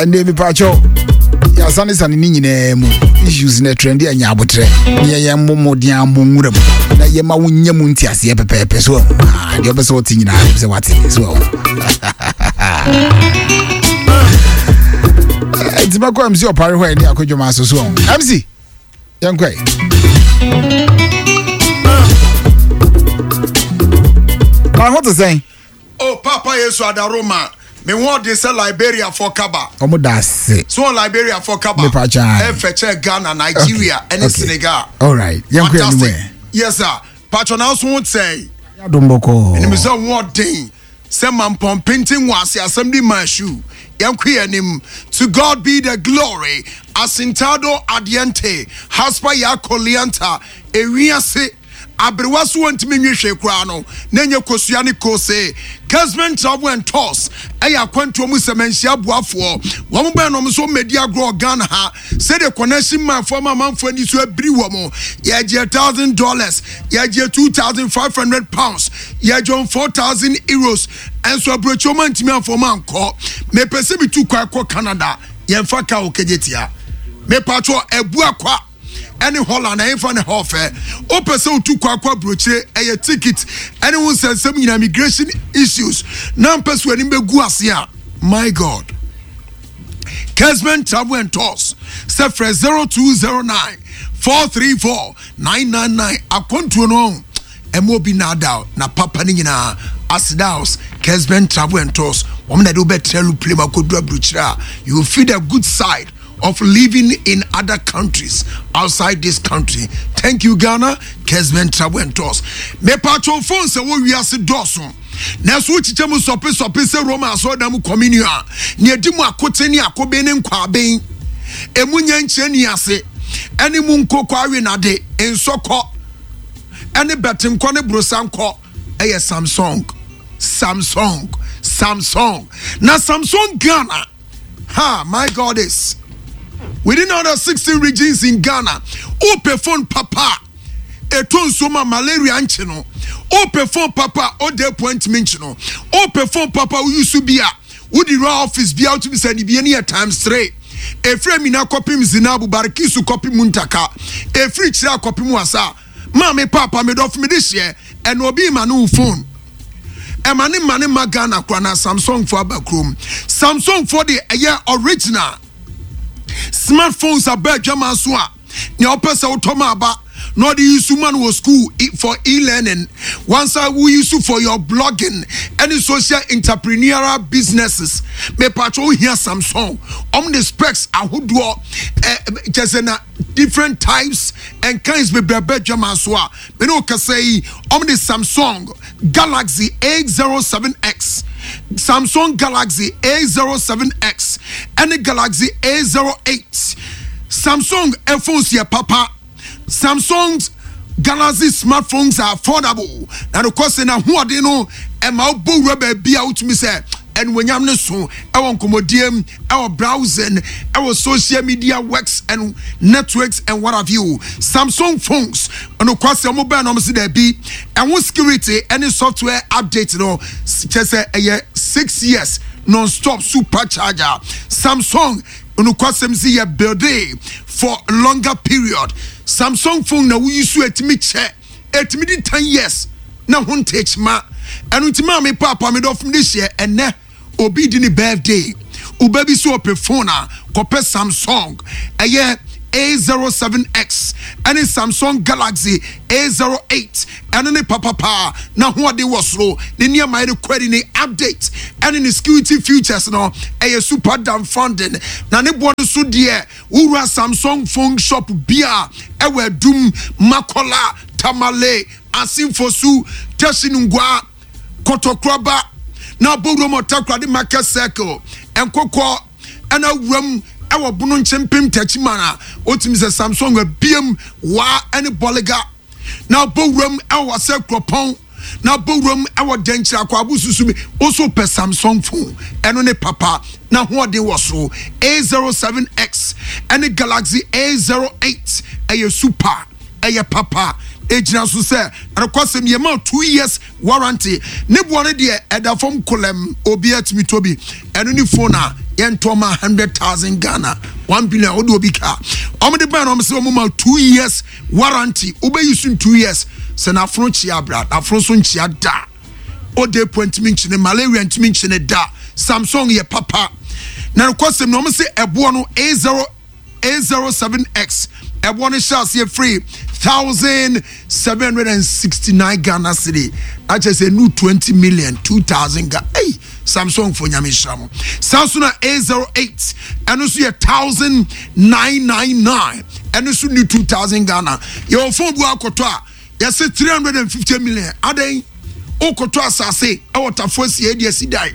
Ɛnde mepaakyɛw yɛasanesane ne nyinaa mu issues na trend anya abotrɛ ne yɛyɛ mmɔ mmɔden ammɔ nwura mu na yɛma wo nya mu nteaseɛ pɛpɛɛpɛ so ah, deɛ wopɛ sɛ wote nyinaa wopɛ sɛ wate so nti mɛkɔ mc ɔpare hɔ ɛne akɔdwoma so so mc yɛnkɔ ɛ ho te sɛn Oh papa yesu adaroma me ho ɔden sɛ Liberia fɔ kaba. Ɔmo da ase. So wɔn Liberia fɔ kaba. Mepa kyaa. Ɛfɛ kyɛ Ghana, Nigeria ɛne okay. Senegal. Alright, yɛn kɔ anim ɛ. Yes sir. Patro na nso ho sɛn. Yadom bɔkɔɔ. Ɛnim sɛ ho ɔden sɛ mampɔn penten wɔ ase asɛm di ma shoe. Yɛn kɔ anim. To God be the glory. Asintado adiente. Haspa ya kolianta. Ewiase. Aberewa so wɔntumi nwe hwee koraa no, na ɛnyɛ kosua ne kose. Kesben Travel and Tours yɛ akwantuo mu sɛmɛnhyia boafoɔ. Wɔn bɛn na wɔn nso mmɛdi agorɔ wɔ Ghana ha. Sɛdeɛ Connection Man foɔ ama amanfoɔ ani so abiri wɔn. Yɛgyeɛ $1,000, yɛgyeɛ £2,500, yɛgye wɔn €4,000. Ɛnso aburokyi wɔn antumi amfa wɔn ankɔ. Mepɛ sɛ metu kwan kɔ Canada, yɛmfa kaa wɔ Kejetia. Mepatwɔ Abuakwa. ɛne Holland ɛhefa ne hɔ fɛ wopɛ sɛ wotu kwan kɔ aburokyire ɛyɛ ticket ɛne ho nsɛnsɛm nyinaa immigration issues na mpɛ so anim bɛgu ase a my god Kesman Travel and Tours sɛ frɛ 0209 434 999 akwantuo no ɛma obi nnaadaw na papa no nyinaa aseda house Kesman Travel and Tours wɔn na de wobɛtena aeroplane akɔduru aburokyire a you will feel the good side of living in other countries outside this country. Thank you, Ghana. Kesben Travel and Tours. Me patro phone sɛ wɔ wiase dɔɔso. Nanso wokyekyɛ mu sɔpe-sɔpe sɛ Roma asɔredan mu communion a, nea edi mu akoten ne akoben ne nkwaben, emu nyɛ nkyerɛ ni ase, ɛne mu nkokɔ awenade, nsɔkɔ, ɛne bɛtenkɔ ne brosankɔ ɛyɛ Samsung. Samsung. Samsung. Na Samsung Ghana Ha, my God is within other 16 regions in Ghana. Wopɛ phone papa a ɛtɔ nsuo ma malaria nkye no. Wopɛ phone papa a ɔda apua ntumi nkye no. Wopɛ phone papa a woyi so bi a wode wura office bi a wotumi sɛ ne bie no yɛ times three. Ɛfiri Amina kɔpem Zinabu, Barikisu kɔpem Muntaka, ɛfiri Kyerɛ kɔpem Wasa. Maame paapa me dɔfo me de hyeɛ ɛna obi ma no wo phone ɛma ne ma ne ma Ghana kora na Samsung fo aba kurom Samsung fo de ɛyɛ original smartphones aba adwama so a nea ɔpɛ sɛ wotɔ ma aba na ɔde yi so ma no wɔ school for e-learning wansa wo yi so for your blogging ɛne social entrepreneurial businesses mepatwa ohia Samsung ɔmo de specs ahodoɔ ɛ kyɛ sɛ na different types and kinds bebree aba adwaman so a me ne wo kasa yi wɔn de Samsung Galaxy A07x Samsung Galaxy A07x ɛne Galaxy A08 Samsung phones yɛ papa Samsung's Galaxy smartphones are affordable na nokwasɛ na ahoɔden no ɛma wobɔ wura baabi a wotumi sɛ ɛnuonyam no so ɛwɔ nkɔmmɔdie mu ɛwɔ browsing ɛwɔ social media works and networks and what have you Samsung phones nokwasɛ wɔn bɛn na wɔn si daabi ɛho security ɛne software update no kyɛ sɛ ɛyɛ 6 years non-stop supercharger. Samsung nokwasɛm si yɛ building for longer period. Samsung phone na woyi so etimi kyɛ etimi di 10 years na ho ntekyima. Ɛno nti maame paapa me dɔfo de hyɛ ɛnɛ obi di ne birthday woba bi so ɔpɛ phone a kɔpɛ Samsung ɛyɛ A07x ɛne Samsung Galaxy A08 ɛno ne papapaa na hoɔden wɔ soro ne nneɛma yɛde kɔ ne update ɛne ne security features no ɛyɛ super damn funding na ne boɔ no so deɛ wowura Samsung phone shop bia ɛwɔ Adum, Makola, Tamale, Asimfosu, Teshie Nungua, Kɔtɔkoraba na abɔwuram Ɔtakoradi Market Circle, Nkokɔ ɛna awuram ɛwɔ Bono Nkyempem Takyiman a wotumi sɛ Samsung abiem waa ɛne Bɔlega na abɔwuram ɛwɔ Wasɛ Kuropɔn na abɔwuram ɛwɔ Dɛnkyerɛ Akwaabo Susu mi woso pɛ Samsung phone ɛno ne papa na hoɔden wɔ soro A07x ɛne Galaxy A08 ɛyɛ super ɛyɛ papa. Egyina so sɛ ɛnokwasɛm yɛma 2 years warranty. Ne boɔ no deɛ, ɛda fam kolɛm, obi atumi tɔ bi. Ɛno ne phone a yɛntɔ ma 100,000 Ghana, 1 billion. Wode obi ka ɔmo de bɛn no, ɔmo sɛ ɔmo ma 2 years warranty. Wobɛyi so in 2 years sɛ n'afono kyea abra, n'afono nso nkyea da. Ode po ntumi nkyene, malaria ntumi nkyene da. Samsung yɛ papa na nokwasɛm no, ɔmo sɛ ɛboɔ no A0 A07X, ɛboɔ no hyɛ aseɛ firi 1,769 Ghana cedi, akyɛ sɛ nu 20 million 2,000 ga. Ei, Samsung fo, Nyame nhyira mo. Saa so na A08, ɛno nso yɛ 1,999, ɛno nso nu 2,000 Ghana. Yɛwɔ phone bu akɔtɔ a yɛsɛ 350 million. Adan wokɔtɔ asase ɛwɔ Tafo asie de asi dan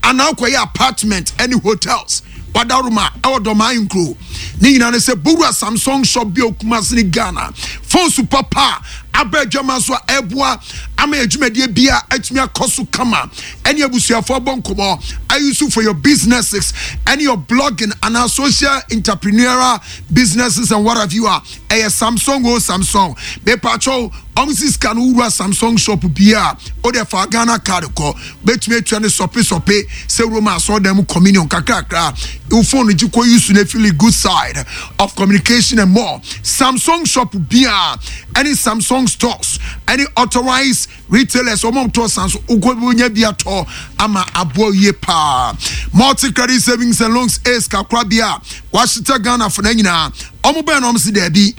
anaa wokɔyɛ apartment ɛne hotels, wadaroma ɛwɔ Dɔmaa nkuro ne nyinaa no sɛ bowura Samsung shop bi a Okumase ne Ghana. Phones papa a aba adwama so a ɛboa ama adwumadie bia atumi akɔ so kama, ɛne abusuafoɔ abɔ nkɔmmɔ, ayi for your businesses ɛne your blogging anaa social entrepreneurial businesses and what have you a, ɛyɛ Samsung o. Samsung, mepatwɛw, ɔmo si sika no, wura Samsung shop bia, o de fa Ghana Card kɔ, bɛtumi atua ne sɔpe sɔpe sɛ Roma asɔɔdan mu communion kakrakra. Wo phone gye kɔ use ne feel good side of communication and more. Samsung shop bia ɛne Samsung stores ɛne authorized retailers, ɔmo tɔ san so wokɔ wonya bi atɔ ama aboa yie paa. Multi Credit Savings and Loans, Ace kakra bia wahyetɛ Ghana fo na nyinaa ɔmo bɛn na ɔmo si daabi.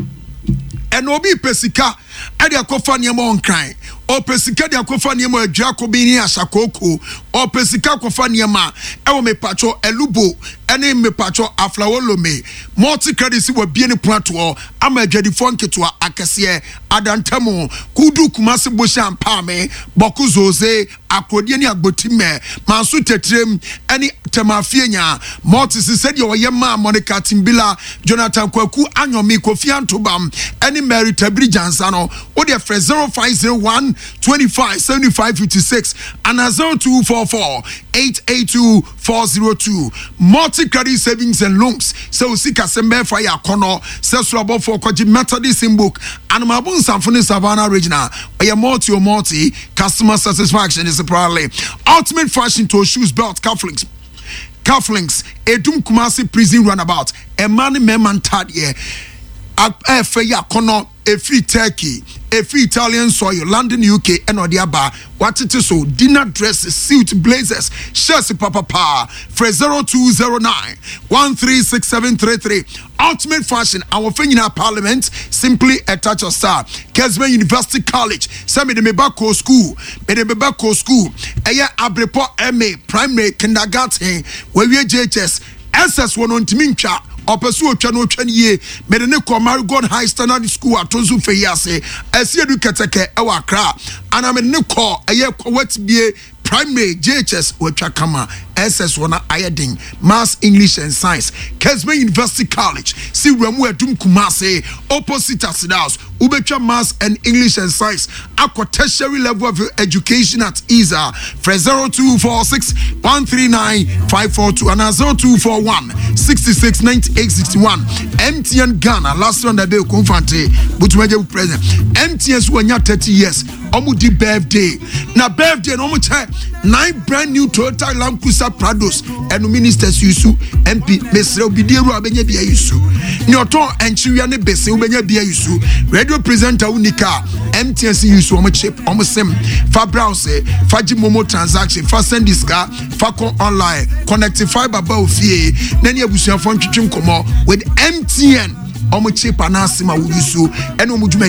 Ɛna obi pɛ sika ɛde akɔfa nneɛma ɔnkran, ɔpɛ sika de akɔfa nneɛma adwira kobi ne ahyakoko, ɔpɛ sika akɔfa nneɛma ɛwɔ mepatwɔ Elubo ɛne mepatwɔ Aflawolome. Multi Credit si wɔ bie ne pono atoɔ ama adwadifoɔ nketewa akɛseɛ adantamu kudu Kumase bohyɛ ampaame Bɔko Zoze Akorodie ne Agbotimɛ Manso Tɛtirem ɛne Tɛmafie nya. Multi si sɛdeɛ ɔyɛ maa Monica Timbila, Jonathan Kwaku Anyomi, Kofi Antobam ɛne Mary Tabiri Jansa no, wode frɛ 0501 25 75 56 ana 0244 882 402. Multi Credit Savings and Loans, sɛ osi kasɛm bɛɛfa yɛ akɔnɔ sɛ soro abɔfoɔ kɔgye Methodist book Anomabo Nsamfo ne Savannah Regional. Ɔyɛ multi o multi customer satisfaction is probably Ultimate Fashion to shoes, belt, cufflinks, Edum Kumasi Prison Runabout. Ɛma ne mmarima ntadeɛ ɛfɛ yi akɔnɔ, efiri Turkey, efiri Italian soil, London, UK ɛna ɔde aba. Watete so dinner dresses, suit, blazers, shirts papapa. Frɛ 0209 136733. Ultimate Fashion, awɔfɛ nyinaa parliament, simply a touch of star. Kesben University College, sɛ mede me ba kɔ school, mede me ba kɔ school, ɛyɛ Abrepɔ ma primary, kindergarten, wawie JHS, SS wɔ no, ntumi ntwa, ɔpɛ so otwa no, otwa no yie. Mede ne kɔ Marigold High Standard School ato nso fɛ yi ase ɛsi edu kɛtɛkɛ ɛwɔ Accra, ana mede ne kɔ ɛyɛ Kɔwɛtibie primary, JHS watwa kama, SS wɔ no ayɛ den, maths, English and science. Kesben University College si wuramu Adum Kumase opposite Asidas, wobɛtwa maths and English and science akɔ tertiary level of education at isa. Frɛ 0246 139 542 ana 0241 66 98 61. MTN Ghana, last one that day Komfante Butumaje president MTN so wanya 30 years, ɔmo di birthday na birthday na ɔmo kyɛ nine brand new Toyota Land Cruiser Prados. Ɛno ministers yusu, MP mesrɛ obi die wura wobɛnya bi ayusu, ne ɔtɔn nkyewia ne bese wobɛnya bi ayusu, radio presenter wo nika MTN si yusu ɔmo chip, ɔmo sim fa browse, fa gye MoMo transaction, fa send sika, fa kɔ online, connect fibre ba ofie na ne abusuafoɔ ntwetwe nkɔmmɔ with MTN ɔmo chip anaasɛ ma wo yusu ɛne ɔmo dwuma.